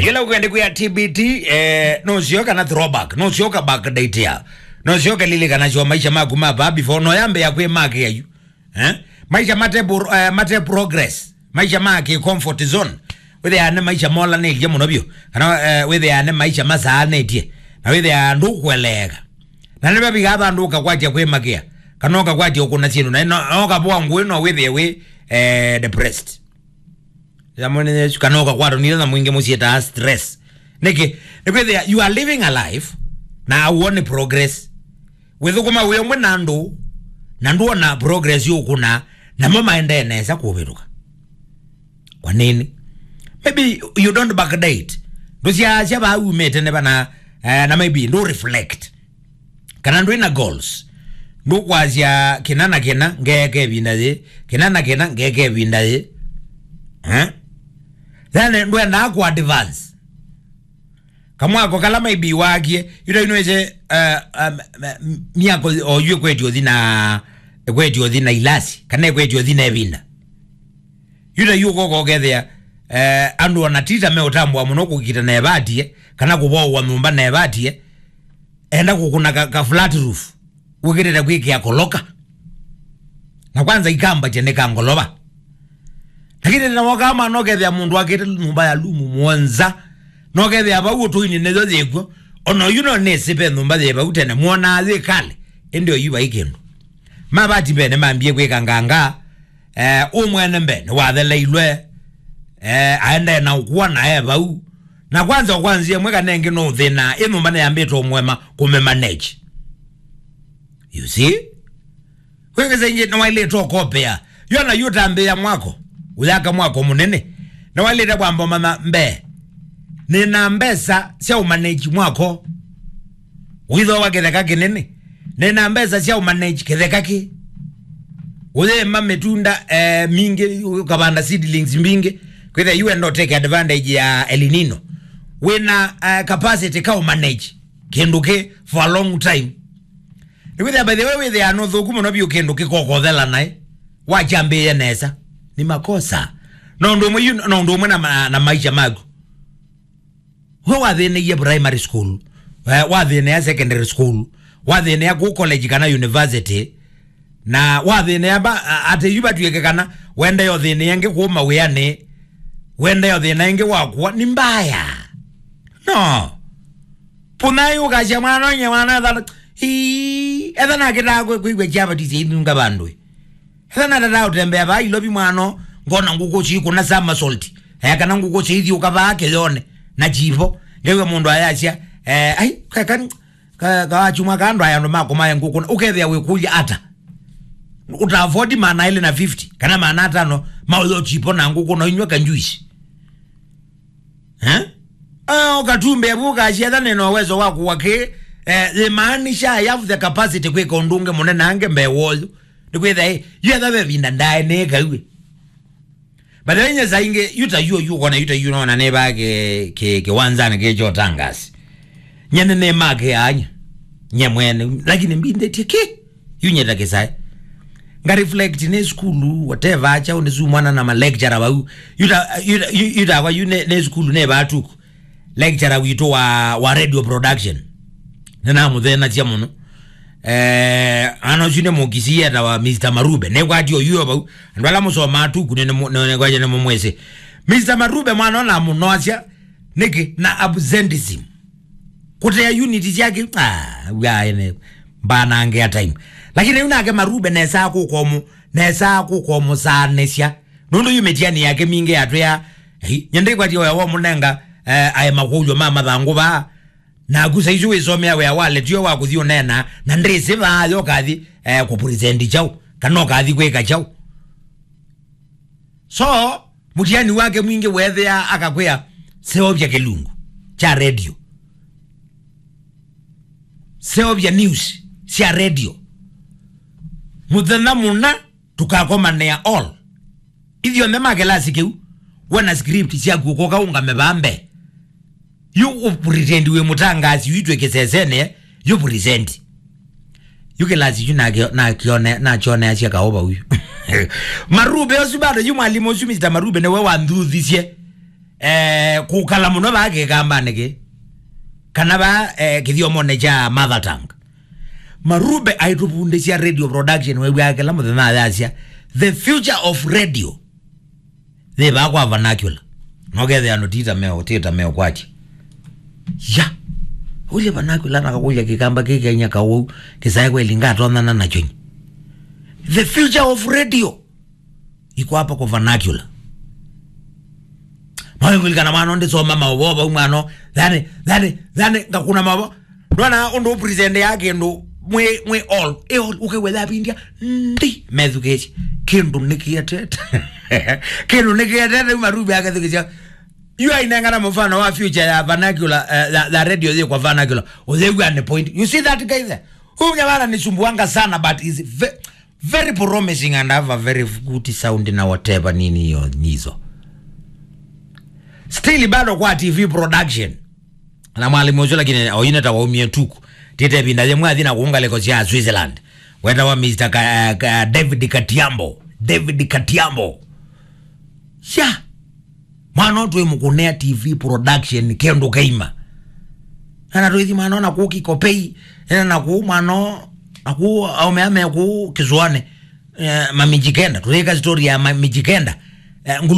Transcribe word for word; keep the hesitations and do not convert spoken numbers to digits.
Yĩla ũkwenda kwĩa T B T, eh, nũsyoka na throwback, nũsyoka backdate ya. Nũsyoka lilikana syo maisha maku ma vaa before, no yambe ya kwĩ make ayu. Eh? Maisha mate bur-, eh, mate progress. Maisha ma ki comfort zone. Wĩthĩa nĩ maisha molanĩtye mũno vyũ. Kana, eh, wĩthĩa nĩ maisha masaanĩtye. Na wĩthĩa ndũkweleeka. Na nĩ vaviga vandũ ũkakwatya kwĩmakĩa. Kana ũkakwatya ũkũna syĩndũ. Na no, no ũkavoa ngũĩ no wĩthĩe wĩ, eh, depressed. Yamone Yesu kana ũkakwatwa nĩ thĩna mwingĩ mũsyĩ ta stress. Nĩkĩ? Nĩkwĩthĩa you are living a life na auone progress. Wĩthũkũma wĩ ũmwe na andũ na ndũona progress yũkũna, namo maendee nesa kũvĩtũka. Kwa nini? Maybe you don't backdate. Ndũsyaasya vaa umĩte nĩ vana, eh, na maybe ndũ reflect. Kana ndwĩ na goals. Ndũkwasya kĩna na kĩna ngeeka ĩvinda yĩ, kĩna na kĩna ngeeka ĩvinda yĩ. Eh? Then ndwendaa ku advance. Kamwako kala maybe wakie, yu ta yu nĩwĩsĩ, eh, um, m-, myako o yu ĩkwetye ũthi na, ĩkwetye ũthi na ilasi, kana ĩkwetye ũthi na ĩvinda. Yu ta yu ũkoka ũkethĩa, eh, andũ ona tita meũtambũa mũno kũkita na evatie, kana kũvowa nyũmba na evatie, enda kũkũna ka, ka flat roof, wĩkĩtĩte kwĩkĩa koloka. Na kwanza ikambakya nĩ ka ngolova. Lakini na woka ama no kethĩa mũndũ akĩte nyũmba ya lumu mũonza. No kethĩa vau ũtũinĩ nĩyo yĩkw'o. Ona oyu no nĩsĩ ve nyũmba yĩ vau tene, mwonaa yĩ kale, ĩndĩ oyu vai kĩndũ. Mavati mbene mambie kwĩka nganga, eh, ũmwene mbene watheleilwe, eh, aendee na ũkua na e vau. Na kwanza, kwanzia ĩmwe kana ĩngĩ no ũthĩna, ĩ nyũmba nĩyambĩte ũmwema kũmĩmanage. You see? Kwĩkĩsa ingĩ nĩwailĩte ũkopea. Yona yu ũtambĩĩa mwako, ũyaka mwako mũnene. Nĩwailĩte kwamba ũmanya mbee. Nĩna mbesa sya ũmanage mwako. Ũithooa kĩtheka kĩnene. Nĩna mbesa sya ũmanage kĩtheka kĩ. Ũyĩma mĩtunda, eh, mingĩ, ũkavanda seedlings mbingĩ. Kwĩthĩa yu enda ũteke advantage ya El Nino. Wĩna, eh, capacity ka ũmanage kĩndũ kĩ for a long time. Nĩkwĩthĩa, by the way, wĩthĩaa nũthũku mũno vyũ kĩndũ kĩkokothela naĩ. Wakyambĩĩe nesa. Nĩ makosa. No ũndũ ũmwe yu, no ũndũ ũmwe na ma-, na maisha maku. We wathĩnĩie primary school, eh, wathĩnĩa secondary school, wathĩnĩa kũ college kana university, na wathĩnĩa ba, a-, atĩ yu vatw'ĩke kana wendee ũthĩnĩa ĩngĩ kũũ mawĩanĩ, wendee ũthĩna ĩngĩ wakũa, nĩ mbaya. No. Pũnai ũkasya mwana ũnye mwana ethana, ii, ethana akĩtaa kwĩ-, kwĩw'a kyavatĩsya ithunga vandũĩ. Ethana tata ũtembea vaa ilovi mwano, ngona ngũkũ syĩkũna somersault. Eh, kana ngũkũ syĩthiũka vaa kĩyone, na chivo. Ngew'a mũndũ ayasya, eh, ai, ka, ka, ka, kawachumwa ka andũ aya andũ makũmae ngũkũ, na ũkethĩa wĩkũlya ata? Ũta afford maana elĩ na fifty, kana maana atano, maũyo chipo na ngũkũ, na inywe ka juice. Eh? Ah, ũkatumbĩa vu ũkasya ethana nĩ na uwezo wa kũwa kĩ, eh, imaanisha I have the capacity kwĩka ũndũ ũngĩ mũnene ange mbee wa ũyũ. Nĩkwĩthĩa, ĩ, yu etha ve vinda ndae nĩĩka yu. But then nyesa ingĩ, yu ta yu, yu kona, yu ta yu nona nĩ vaa kĩ, kĩ, kĩwanzanĩ kĩ kyo tangasi. Nyene nĩ make anya. Nye mwene, lakini mbindĩtie kĩ? Yu nyeta kĩsae. Nga reflect nĩ sukulu, whatever, acha ũnĩ su mwana na ma lecturer vau. Yu ta, yu ta, yu, yu ta kwa yu nĩ, nĩ sukulu nĩ vaa tuku. Lecturer witũ wa, wa radio production. Nĩnamũthenasya mũno. Eh, ana ũsu nĩ mũkisi etawa Mister Marube. Nĩkwatio yuo vau. Andũ ala mũsomaa tuku nĩ, nĩ, nĩ, nĩ, nĩ mũmwĩsĩ. Mister Marube mwana ona mũnoasya nĩkĩ na absenteeism. Kũtea unit syake, ah, wia ene, mbanangĩa time. Lakini yu nake Marube nesa kũkomu, nesa kũkomusaanĩsya. Nũndũ yu mĩtiani yake mingĩ yatwĩa, ei, nyende kwati oya wa mũnenga, eh, aema kũlyo ma mathangũ vaa. Naku saisu wĩsomea wĩa wa letio wa kũthi ũneena, na ndĩsĩ vaa yo kathi, eh, kũpresent chau, kana ũkathi kwĩka chau. So, mũtiani wake mwingĩ weethĩa akakwĩa, seovya kĩlungu kya radio. Seovya news sya radio. Mũthenya mũna, tũkakomanĩa all. Ithyonthe ma kĩlasi kĩu, we na script syaku ũkoka ũngame vaa mbee. Yu ũpretend wĩ mũtangaasi, yu twĩ kĩsesene, yu present. Yu kĩlasi yu nakyo-, nakyone-, nakyoneasya kaũ vau yu. Marube ũsu bado, yu mwalimũ ũsu, Mister Marube, nĩwe wanthuthisye. eh, kũkala mũno vaa kĩkambanĩ kĩ, kana vaa, eh, kĩthyomonĩ kya mother tongue. Marube aitũvundĩsya radio production, wew'aa kĩla mũthenya ayasya, "The future of radio yĩ vaa kwa vernacular." Nokethĩa andũ tita meo, tita meo kwakya. Ya. Ũlye vernacular na kakũlya kĩkamba kĩkenya kaũu, kĩsae kweli ngatonyana nakyo nyi. The future of radio iko hapa kwa vernacular. Mawĩngũlikana mwana ndĩsoma maũvoo vau mwana, thani, thani, thani, ngakuna maũvoo. Ndona ũndũ ũpresent ya kĩndũ mwĩ, mwĩ all, ĩ all, ũkewetha vindia, ndi, methukĩsye. Kĩndũ nĩkĩetete. Kĩndũ nĩkĩetete, uma rubi akethukĩsya. Yu ainengana mũfano wa future ya vernacular, eh, ya, ya radio yĩ kwa vernacular. Ũthew'a ni point. You see that guy there? Huyu mnyamana nisumbuanga sana, but is ve-, very promising and have a very good sound na whatever nini hiyo nizo. Still bado kwa T V production. Na mwalimu ũcio lakini oine ta waumie tuku. Tite vinda yemwe athi na kuunga leko cia Switzerland. Weta wa Mister Ka, Ka, David Katiambo. David Katiambo. Ya. Mwana ũtwĩ mũkũnea T V production kĩndũ kaima. Ana twĩthi mwana ona kũ Kikopei, ena na kũ mwana, akũ aume ame kũ Kĩsũanĩ. Eh, mamijikenda, tũyĩka story ya mamijikenda. Eh, ngulu